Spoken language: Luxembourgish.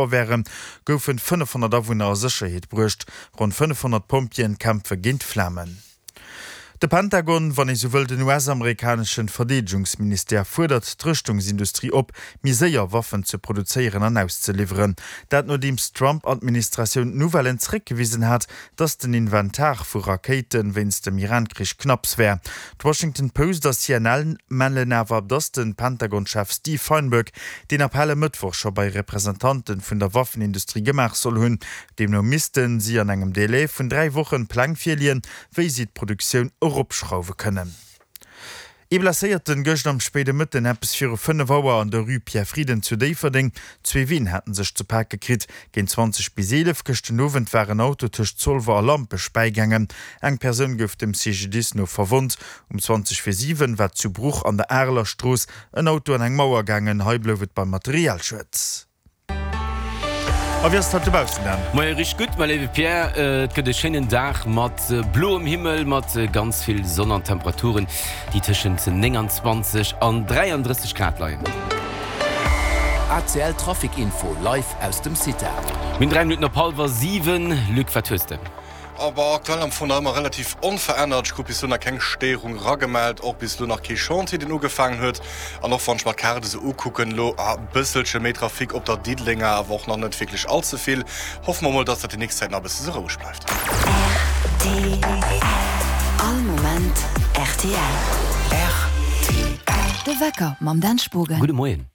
Wären, goufen 500 Awunner a Sécherheet bruecht. Ronn 500 Pompjeeën kämpfe géint d'Flamen. De Pentagon, wann ee sou wëll den US-amerikaneschen Verdeedegungsministère, fuerdert d'Rëschtungsindustrie op, méi séier Waffen ze produzéieren an auszeliwweren. Dat nodeems d'Trump-Administratioun d'Nouvellen zeréckgewisen hat, dass den Inventar vu Rakéite wéinst dem Iran-Krich knapps wär. D'Washington Post a CNN mellen awer, dass de Pentagon-Chef Steve Feinberg deen Appell e Mëttwoch scho bei Representante vun der Waffenindustrie gemaach soll hunn. Deemno misste si an engem Delai vun 3 Wochen Pläng virleeën, wéi si d'Produktioun eropschrauwe kënnen. Ee Blesséierten gëscht am spéide Mëtten eppes viru 5 Auer an der Rue Pierre Frieden zu Déifferdeng. Zwee Ween haten sech ze pake kritt. Géint 20 bis 11 gëscht den Owend war en Auto tëscht Zolwer a Lampech bäigaangen. Eng Persoun gouf dem CGDIS no verwonnt. Um 20 vir 7 war zu Bruch an der Areler Strooss en Auto an eng Mauer gaangen. Hei blouf et beim Materialschued. A wéi ass et haut dobaussen, Dan? Moie, richteg gutt, mäi léiwe Pierre. Et gëtt e schéinen Dag mat bloem Himmel, mat ganz vill Sonn an Temperaturen, déi tëschent 29 an 33 Grad leien. ACL Trafic Info live aus dem CITA. Mir hunn 3 Minutten op hallwer 7. Luc, wat hues de? Bon, aktuell am Fong nach ëmmer relativ onverännert. Ech krut bis elo nach keng Stéierung eragemellt, och bis elo nach kee Chantier, deen ugefaangen huet. An och wann ech mer d'Kaart esou ukucken, elo e bësselche méi Trafic op der Diddelenger, awer och nach net wierklech all ze vill. Hoffe mer mol, dass dat déi nächst Zäit nach e bësse sou roueg bleift. Rtl, All Moment rtl. Rtl. De Wecker mam Dan Spogen. Gudde Moien.